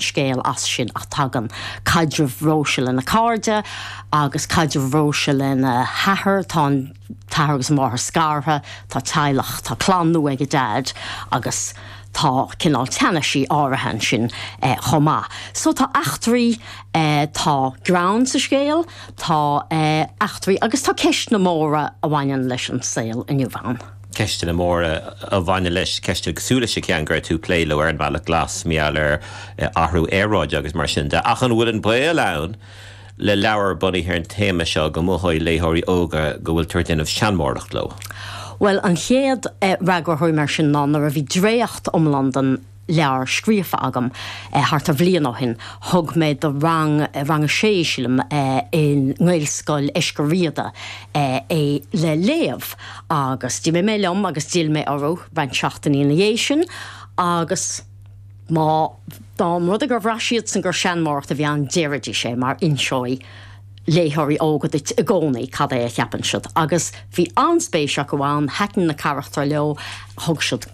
Scéal as sin ach tagann caidreamh Róise lena cairde agus caidreamh Róise lena hathair, tá an t-athair agus an mháthair scartha, tá teaghlach, tá clann nua ag a Deaid agus tá cineál teannaisí áirithe ansin chomh maith. So tá eachtraí, tá greann sa scéal, tá eachtraí agus tá ceisteanna móra a bhaineann leis an saol inniu ann. Ceisteanna móra a bhaineann leis, ceisteanna cosúil leis an cheann go raibh tú ag plé leo ar an mBealach Glas, mar gheall ar athrú aeráide agus mar sin de. Ach an bhfuil an baol ann le leabhar bunaithe ar an téama seo go mothóidh léitheoirí óga go bhfuil tú ag déanamh seanmóireacht leo? Bhuel, an chéad fhreagra a thabharfaidh mé air sin ná nuair a bhí dréacht iomlán den leabhar scríofa agam thart ar bhliain ó shin, thug mé do rang, rang a sé sílim, i nGaelscoil Eiscir Riada é le léamh agus d'imigh mé liom agus d'fhill mé orthu roinnt seachtainí ina dhiaidh sin agus má, dá mba rud é gur bhraith siadsan gur seanmóireacht a bhí ann déarfaidís é mar inseoidh léitheoirí óga duit i gcónaí cad é a cheapann siad agus bhí an-spéis acu ann, thaitin na carachtair leo, thug siad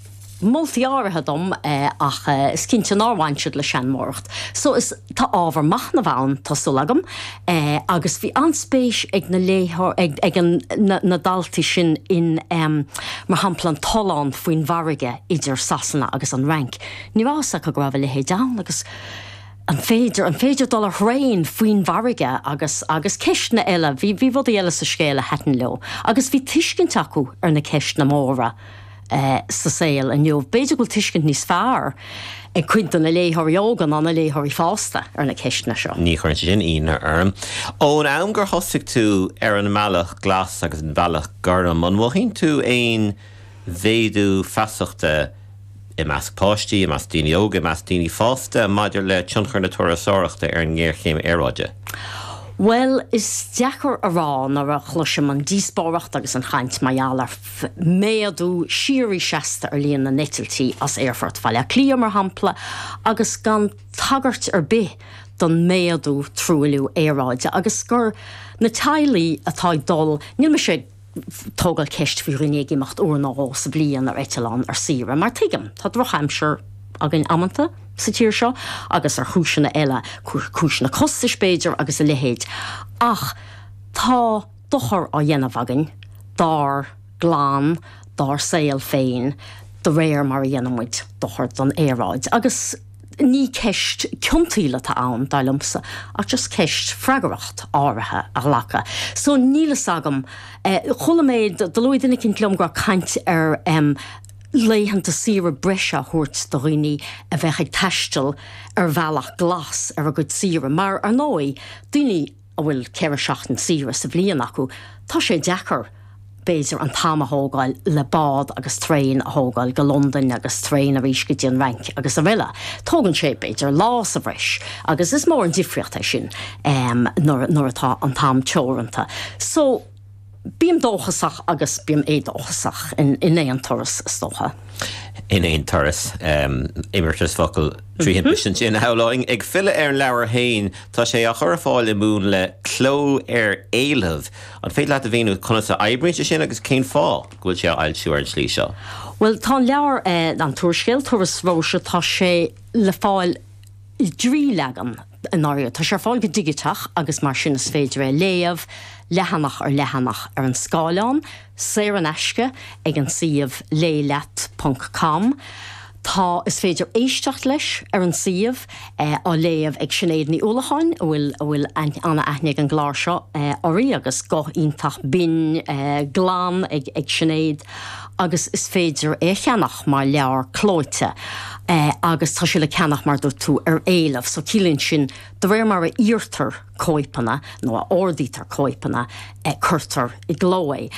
moltaí áirithe dom ach is cinnte nár bhain siad le seanmóireacht. So is, tá ábhar machnaimh ann, tá súil agam, agus bhí an-spéis ag na léitheoir, ag, ag an, na, na daltaí sin in, mar shampla an tollán faoin bhfarraige idir Sasana agus an Fhrainc. Ní raibh fhios acu go raibh a leithéid ann agus an féidir, an féidir dul ar thraein faoin bhfarraige agus, agus ceisteanna eile, bhí, bhí rudaí eile sa scéal a thaitin leo agus bhí tuiscint acu ar na ceisteanna móra. sa saol inniu. B'fhéidir go bhfuil tuiscint níos fearr ag cuid de na léitheoirí óga ná na léitheoirí fásta ar na ceisteanna seo. Ní chuireann sé sin ionadh orm. Ón am gur thosaigh tú ar an mbealach glas agus an bealach gorm, an mothaíonn tú aon mhéadú feasachta i measc páistí, i measc daoine óga, i measc daoine fásta maidir le tionchar na turasóireachta ar an ngéarchéim aeráide? Bhuel, is deacair a rá nuair a chloisim an díospóireacht agus an chaint mar gheall ar méadú síoraí seasta ar líon na n-eitiltí as Aerfort Bhaile Átha Cliath, mar shampla, agus gan tagairt ar bith don méadú truailliú aeráide agus gur na teaghlaigh atá ag dul, níl mise ag tógáil ceist faoi dhaoine ag imeacht uair nó dhó sa bhliain ar eitleán ar saoire, mar tuigim, tá drochaimsir againn amanta sa tír seo agus ar chúiseanna eile, cúiseanna costais b'fhéidir agus a leithéid, ach tá. dochar á dhéanamh againn dár gclann, dár saol féin, de réir mar a dhéanann muid dochar don aeráid. Agus ní ceist ciontaíl atá ann, dar liomsa, ach just ceist freagracht áirithe a ghlacadh. So níl fhios agam. Chuala mé, do luaigh duine eicínt liom go raibh caint ar laethanta saoire breise a thabhairt do dhaoine a bheadh ag taisteal ar bhealach glas ar a gcuid saoire, mar, ar ndóigh, daoine, a bhfuil 4 seachtain saoire sa bhliain acu, tá sé deacair, b'fhéidir, an t-am a thógáil le bád agus traein a thógáil go Londain agus traein arís go dtí an Fhrainc agus araile. Tógann sé, b'fhéidir, lá sa bhreis agus is mór an difríocht é sin nuair atá an t-am teoranta. So. Bím dóchasach agus bím éadóchasach in aon turas, is dócha. In aon turas. Imeartas focal trí thimpiste ansin, a shamhlóinn. Ag filleadh ar an leabhar féin, tá sé á chur ar fáil i múnla cló ar éileamh. An féidir leat a mhíniú conas a oibríonn sé sin agus cén fáth go bhfuil sé á fhoilsiú ar an tslí seo? Bhuel, tá an leabhar, an t-úrscéal, Turas Róise, tá sé le fáil i dtrí leagan. I ndáiríre, tá sé ar fáil go digiteach agus mar sin is féidir é a léamh leathanach ar leathanach ar an scáileán, saor in aisce, ag an suíomh léigh-leat ponc com. Tá, is féidir éisteacht leis ar an suíomh, á léamh ag Sinéad Ní Uallacháin, a bhfuil, a bhfuil an-aithne ag an gclár seo uirthi agus guth iontach binn glan ag, ag Sinéad. Agus is féidir é a cheannach mar leabhar clóite agus tá sé le ceannach mar dúirt tú ar éileamh so ciallaíonn sin de réir mar a iarrtar cóipeanna nó a ordaítear cóipeanna cuirtear i gcló é.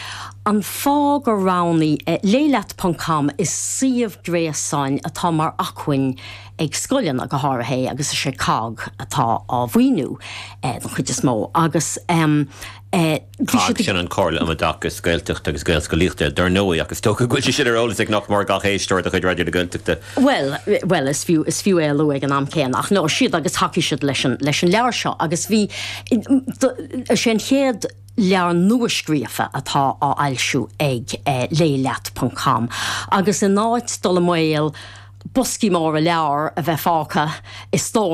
An fáth gur roghnaigh Léigh Leat ponc com is suíomh gréasáin atá mar acmhainn ag scoileanna go háirithe é agus is é cogg atá á mhaoiniú don chuid is mó agus Bhí siad. Sin an Chomhairle um Oideachas Gaeltachta agus Gaelscolaíochta, dar ndóigh, ach is dócha go bhfuil sé sin ar eolas ag nach mór gach éisteoir de chuid Raidió na Gaeltachta. Bhuel, bhuel, is fiú, is fiú é a lua ag an am céanna. Ach no, siad agus thacaigh siad leis an, leis an leabhar seo agus bhí, is é an chéad leabhar nua-scríofa atá á fhoilsiú ag Léigh Leat ponc com agus in áit dul i mbaol. boscaí móra leabhar a bheith fágtha i stóras.